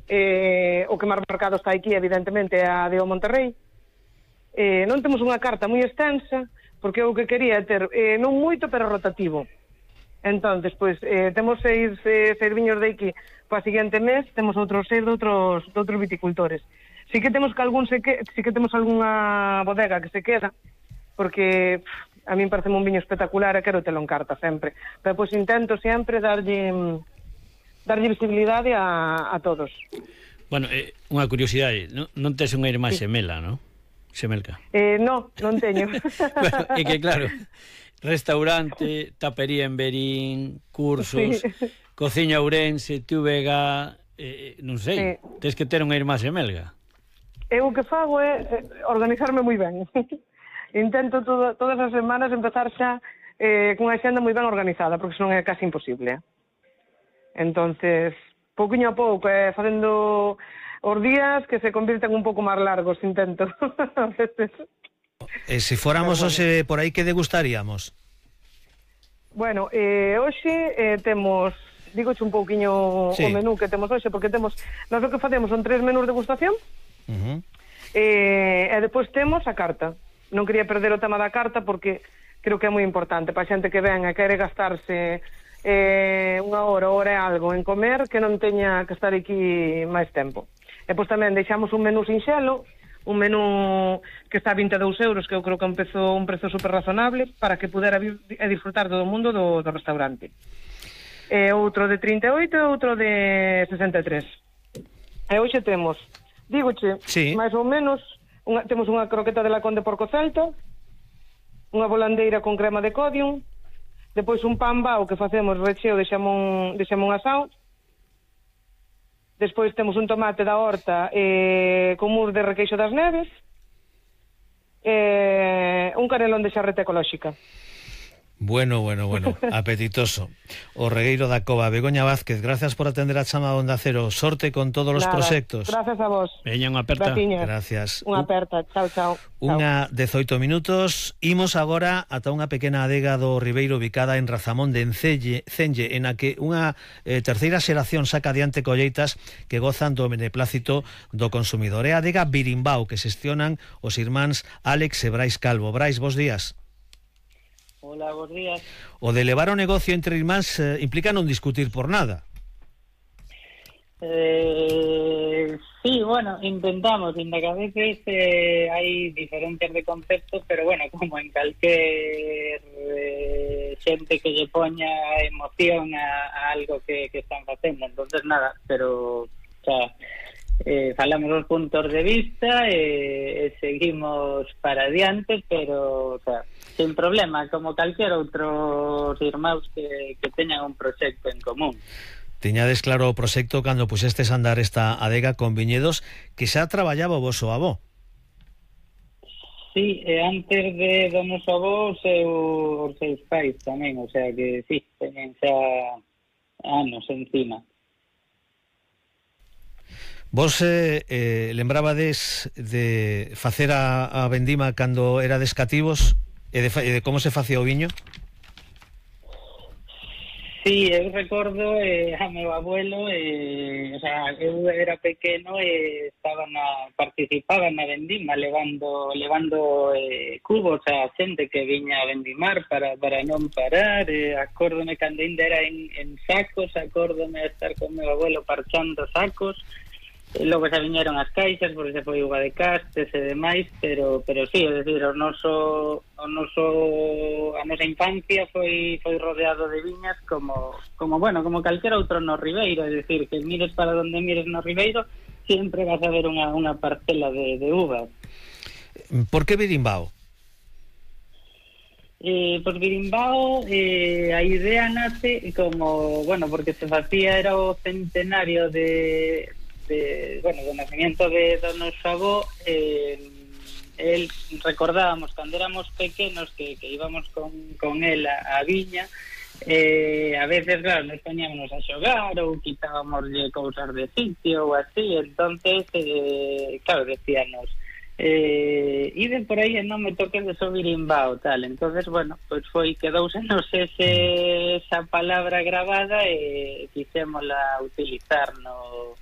O que máis marcado está aquí, evidentemente, é a de o Monterrey. Non temos unha carta moi extensa, porque o que quería ter, non moito, pero rotativo. Entonces, pois, temos seis viños de aquí para o seguinte mes, temos outros 6 de outros viticultores. Sí que temos sí que temos algunha bodega que se queda, porque a mí parece un viño espectacular e quero telo en carta sempre. Pero pois intento sempre darlle visibilidade a todos. Bueno, unha curiosidade, non tes unha irmá xemela, non? Xemelca. Non teño. Bueno, é que claro, restaurante, tapería en Verín, cursos, cociña Ourense, TVG, non sei, tes que ter unha irmá xemelga. Eu o que fago é organizarme moi ben. Intento todas as semanas empezar xa cunha xenda moi ben organizada, porque senón é casi imposible. Entonces, pouquinho a pouco, facendo os días que se convirten un pouco máis largos, intento. E se fóramos hoxe por aí, que degustaríamos? Bueno, hoxe temos, digoche un pouquiño o menú que temos hoxe, porque temos, nós o que facemos son 3 menús de degustación, e depois temos a carta. Non quería perder o tema da carta porque creo que é moi importante para a xente que ven e quere gastarse unha hora e algo en comer, que non teña que estar aquí máis tempo. E pois tamén deixamos un menú sinxelo, un menú que está a 22 euros, que eu creo que empezou un prezo super razonable para que pudera vir e disfrutar todo o mundo do restaurante. Outro de 38 e outro de 63. E hoxe temos, dígoche, máis ou menos, temos unha croqueta de lacón de porco celta, unha volandeira con crema de codium, depois un pan bao que facemos recheo de xamón asado, despois temos un tomate da horta con mousse de requeixo das neves, un canelón de xarreta ecolóxica. Bueno, apetitoso. O regueiro da Cova. Begoña Vázquez, gracias por atender a chama de Onda Cero. Sorte con todos os proxectos. Gracias a vos. Veña, unha aperta. Gracias. Unha aperta. Chao. Unha 18 minutos. Imos agora ata unha pequena adega do Ribeiro ubicada en Razamón de Cenge, en a que unha terceira xeración saca adiante colleitas que gozan do beneplácito do consumidor. É a adega Birimbao, que xestionan os irmáns Álex e Brais Calvo. Brais, bos días. Hola, bons días. O de levar o negocio entre irmáns implica non discutir por nada. Sí, bueno, intentamos, ainda que a veces hai diferencias de concepto, pero bueno, como en calquer xente que lle poña emoción a algo que están facendo, entonces nada, pero falamos os puntos de vista e seguimos para adiante, pero sin problema, como calquer outros irmãos que teñan un proxecto en común. Tiñades claro o proxecto cando puxestes a andar esta adega con viñedos que xa traballaba o voso avó. Sí, antes do noso avó os seus pais tamén, o sea que sí, teñen xa anos encima. Vos lembrabades de facer a vendima cando erades cativos e de como se facía o viño? Sí, eu recordo a meu abuelo, o sea, eu era pequeno e participaba na vendima levando cubos a xente que viña a vendimar para non parar. Acórdome cando ainda era en sacos, acórdome de estar con meu abuelo parchando sacos. Logo xa viñeron as caixas porque se foi uva de castes e demais, pero sí, é dicir, a nosa infancia foi rodeado de viñas como calquera outro no Ribeiro, é dicir, que mires para onde mires no Ribeiro sempre vas a ver unha parcela de uvas. Por que Birimbao? Pois Birimbao, a idea nace como, porque se facía, era o centenario do nacimiento do noso avó. El recordábamos cando éramos pequenos que íbamos con él a viña, a veces, claro, nos poñámonos a xogar ou quitábamoslle cousas de sitio ou así, entonces claro, decíanos iden por aí e non me toques de so Birimbao, tal. Entonces, quedousenos esa palabra grabada e quixémola utilizar no